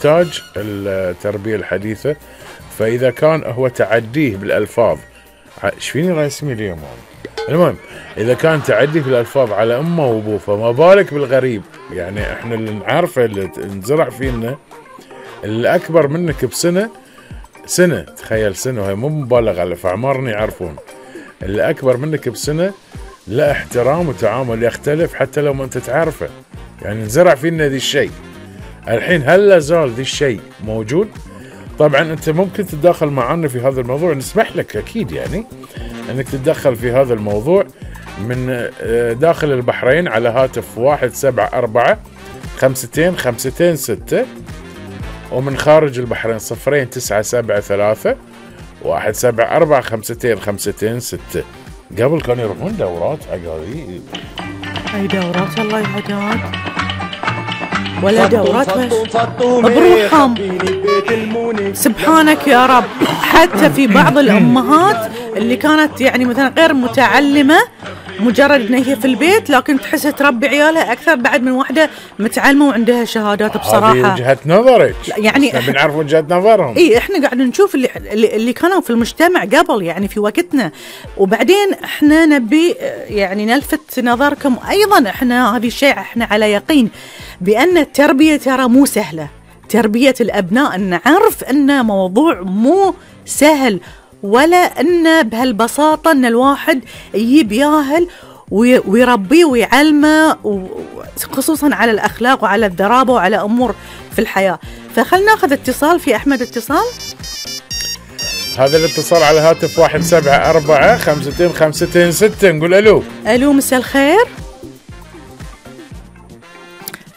يحتاج التربية الحديثة. فإذا كان هو تعديه بالألفاظ، ايش فيني راسمي اليوم؟ المهم، إذا كان تعدي في الألفاظ على أمه وأبوه، فما بالك بالغريب. يعني إحنا اللي نعرفه اللي انزرع فينا اللي أكبر منك بسنة، تخيل سنة، وهي مو مبالغة على فأعمارنا يعرفون، اللي أكبر منك بسنة لا احترام وتعامل يختلف حتى لو ما أنت تعرفه. يعني انزرع فينا ذي الشيء. الحين هل لا زال ذي الشيء موجود؟ طبعا أنت ممكن تتدخل معنا في هذا الموضوع، نسمح لك أكيد يعني أنك تتدخل في هذا الموضوع من داخل البحرين على هاتف 174-52-526، ومن خارج البحرين 0973-174-52-526. قبل كانوا يروحون دورات عقارية. أي دورات الله يهداك، ولا دورات بروحهم. سبحانك يا رب. حتى في بعض الأمهات اللي كانت يعني مثلا غير متعلمة، مجرد ان هي في البيت، لكن تحس تربي عيالها اكثر بعد من واحدة متعلمة وعندها شهادات بصراحة. هذه وجهة نظرك، يعني بنعرف وجهة نظرهم. اي احنا قاعد نشوف اللي كانوا في المجتمع قبل، يعني في وقتنا، وبعدين احنا نبي يعني نلفت نظركم ايضا. احنا هذه الشيء احنا على يقين بان التربية ترى مو سهلة. تربية الابناء نعرف انه موضوع مو سهل، ولا أن بهالبساطة أن الواحد يجيب ياهل ويربيه ويعلمه، خصوصا على الأخلاق وعلى الذرابة وعلى أمور في الحياة. فخلنا ناخذ اتصال. في أحمد اتصال. هذا الاتصال على هاتف 174-52-526. نقول ألو. ألو، مساء الخير.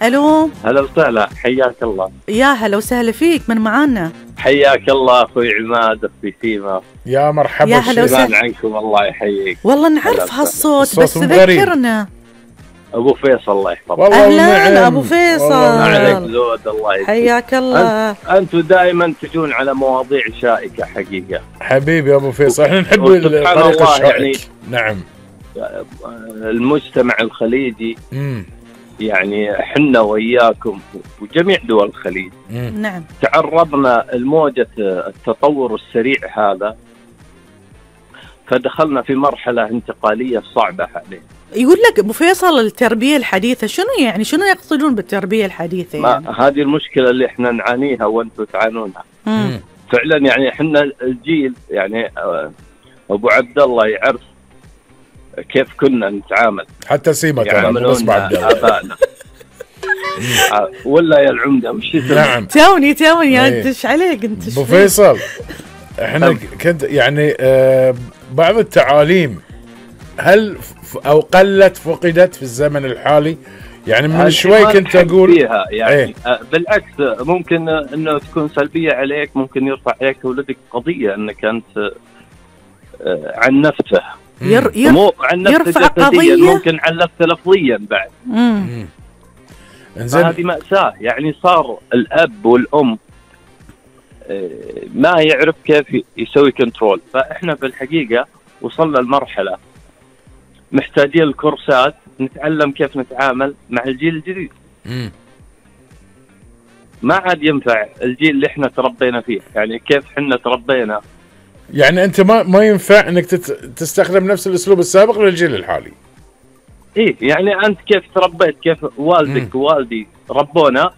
ألو، هلا وسهلا، حياك الله. يا هلا وسهلا فيك، من معانا؟ حياك الله أخوي عماد، أخوي سيما. يا مرحبا، يا هلا وسهلا عنكم، الله يحييك. والله نعرف هالصوت، بس ذكرنا. أبو فيصل الله يحفظك. أهلا أبو فيصل، عليك زود، الله يحفظك. حياك الله. أنتم دائما تجون على مواضيع شائكة حقيقة. حبيبي أبو فيصل، احنا نحب الطريق الشائك. يعني نعم، المجتمع الخليجي يعني حنا وإياكم وجميع دول الخليج نعم تعرضنا لموجة التطور السريع هذا، فدخلنا في مرحلة انتقالية صعبة عليه. يقول لك أبو فيصل التربية الحديثة شنو يعني؟ شنو يقصدون بالتربية الحديثة يعني؟ هذه المشكلة اللي احنا نعانيها وانتم تعانونها. فعلا يعني احنا الجيل، يعني أبو عبد الله يعرف كيف كنا نتعامل، حتى سيما يعاملون آبائنا. ولا يا العمدة مش نعم توني انت ايش عليك انت؟ ابو فيصل احنا كنت يعني بعض التعاليم هل او قلت فقدت في الزمن الحالي؟ يعني من شوي كنت اقول فيها يعني بالعكس، ممكن انه تكون سلبية عليك، ممكن يرفع عليك ولدك قضية انك انت عنفته، مو عنفته جسديا، ممكن عنفته لفظيا بعد. هذه مأساة. يعني صار الأب والأم ما يعرف كيف يسوي كنترول. فإحنا في الحقيقة وصلنا لمرحلة محتاجين الكورسات نتعلم كيف نتعامل مع الجيل الجديد. ما عاد ينفع الجيل اللي احنا تربينا فيه، يعني كيف احنا تربينا. يعني انت ما ينفع انك تستخدم نفس الاسلوب السابق للجيل الحالي. ايه يعني انت كيف تربيت، كيف والدك ووالدي ربونا،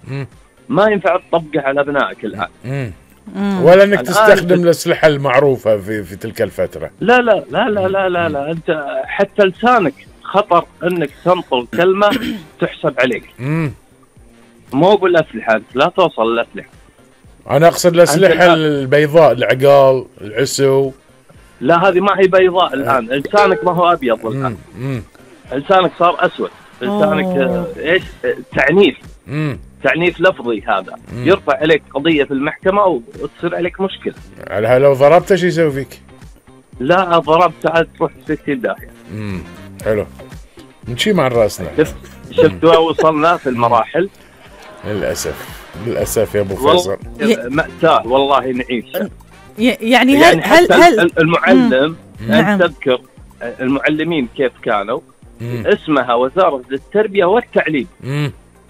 ما ينفع تطبقه على ابنائك الان. ولا انك تستخدم الاسلحه المعروفه في تلك الفتره. لا لا لا لا لا لا, لا. انت حتى لسانك خطر انك تنطق كلمه تحسب عليك. مو بالاسلحه، انت لا توصل للاسلحه. انا اقصد الاسلحه البيضاء، العقال، العسو. لا هذه ما هي بيضاء الان، لسانك ما هو ابيض الان. لسانك صار اسود، لسانك ايش؟ تعنيف. تعنيف لفظي، هذا يرفع عليك قضيه في المحكمه وتصير عليك مشكله. على لو ضربته شو يسوي فيك؟ لا ضربت عاد تروح 60 داهيه. حلو، نمشي مع راسنا. شفتوا وصلنا في المراحل. للاسف يا ابو فيصل، مأساة والله نعيشها. يعني هل المعلم أنت تذكر المعلمين كيف كانوا؟ اسمها وزارة التربية والتعليم.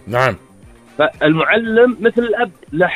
نعم. فالمعلم مثل الأب له